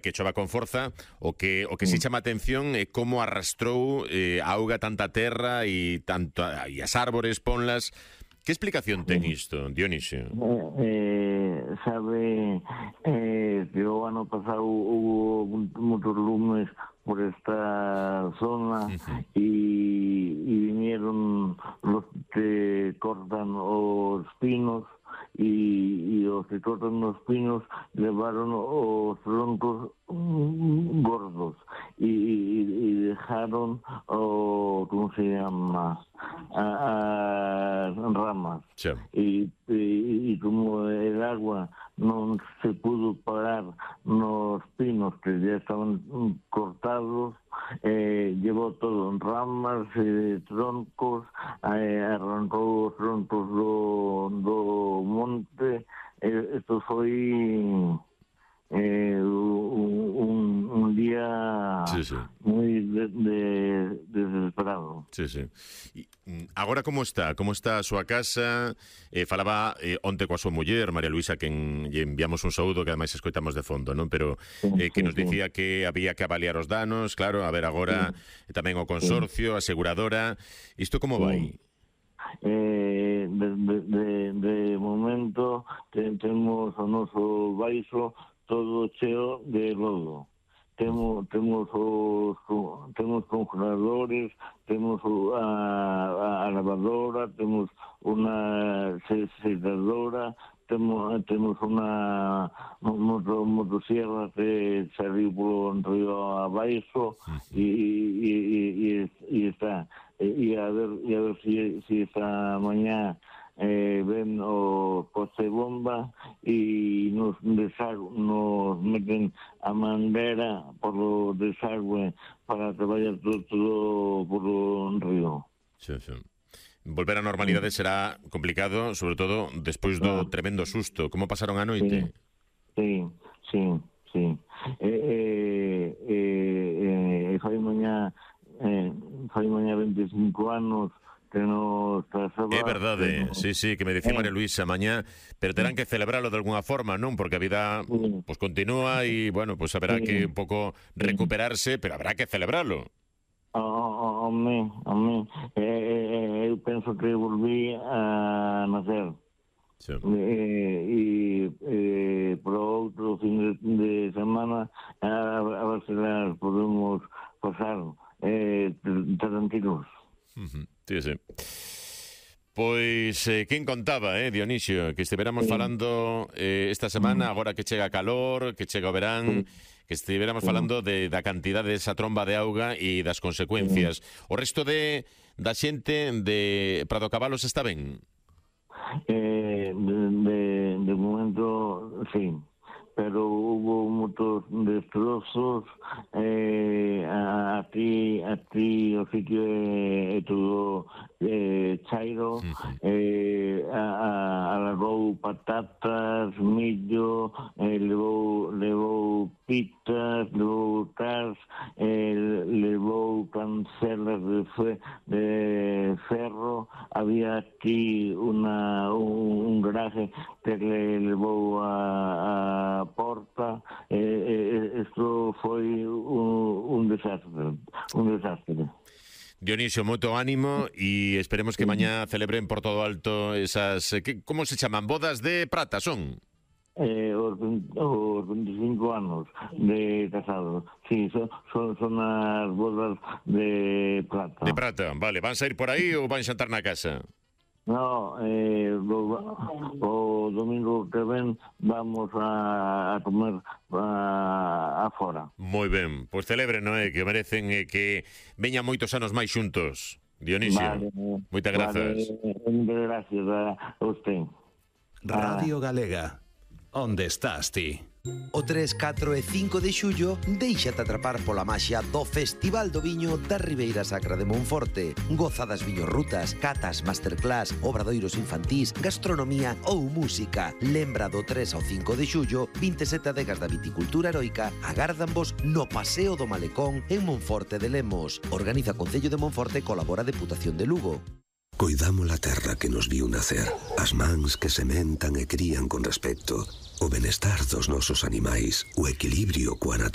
que chova con forza, o que se chama a atención é como arrastrou a auga tanta terra e as árbores, ponlas. Que explicación ten isto, Dionisio? Sabe que o ano pasado hubo muchos lumes por esta zona y vinieron los que cortan los pinos y los que cortan los pinos llevaron los troncos gordos y dejaron, ¿cómo se llama?, ramas. Sí. Y como el agua no se pudo parar los pinos que ya estaban cortados, llevó todo en ramas, troncos, arrancó los troncos do monte. Esto fue un día muy desesperado. Sí. Agora como está a súa casa? Falaba onte coa súa muller, María Luisa, que lle enviamos un saúdo, que ademais escoitamos de fondo, non? Pero que nos dicía que había que avaliar os danos, claro, a ver agora tamén o consorcio, a aseguradora. Isto como vai? De momento temos o noso baixo todo cheo de lodo. Temos congeladores, temos a lavadora, temos unha secadora, temos unha motosierra que saliu polo río abaixo e está. E a ver si esta mañá ven o coche bomba y nos meten a manguera por o desagüe para que vaya todo por o río. Sí. Volver á normalidade será complicado, sobre todo despois do tremendo susto. Como pasaron a noite? Sí. Fai mañá 25 anos que nos trazaba... É verdade, sí, que me dicía María Luisa mañá, pero terán que celebralo de alguna forma, non? Porque a vida pues continúa e, bueno, pues haberá que un pouco recuperarse, pero habrá que celebralo. Amén. Eu penso que volví a nacer. Sí. Por outro fin de semana a ver se las podemos pasar tranquilos. Sí. Pois, quen contaba, Dionisio, que estiveramos falando esta semana, agora que chega calor, que chega o verán, que estiveramos falando da cantidad desa tromba de auga e das consecuencias. O resto da xente de Prado Cabalos está ben? De momento, sí. Pero hubo muchos destrozos aquí o sitio todo chairo, alargou patatas, millo, levou pitas, levou cas, levou cancelas de ferro. Había aquí un garaje que le levou a porta. Isto foi un desastre. Dionisio, moito ánimo e esperemos que mañá celebren por todo alto esas... como se chaman? Bodas de prata son? Os 25 anos de casados. Sí, son as bodas de plata. De plata, vale. Van a ir por aí ou van a xantar na casa? No, o domingo que ven vamos a comer afora. Moi ben, pois celebren, que merecen que veñan moitos anos máis xuntos. Dionisio, moitas grazas. Moitas gracias a usted. Radio Galega, onde estás ti? O 3, 4 e 5 de xullo déixate atrapar pola maxia do Festival do Viño da Ribeira Sacra de Monforte. Goza das viñorrutas, catas, masterclass, obradoiros infantís, gastronomía ou música. Lembra do 3 ao 5 de xullo, 27 adegas da viticultura heroica agárdanvos no Paseo do Malecón en Monforte de Lemos. Organiza Concello de Monforte, colabora Deputación de Lugo. Coidamos a terra que nos viu nacer, as mans que sementan e crían con respecto, o benestar dos nosos animais, o equilibrio coa natureza.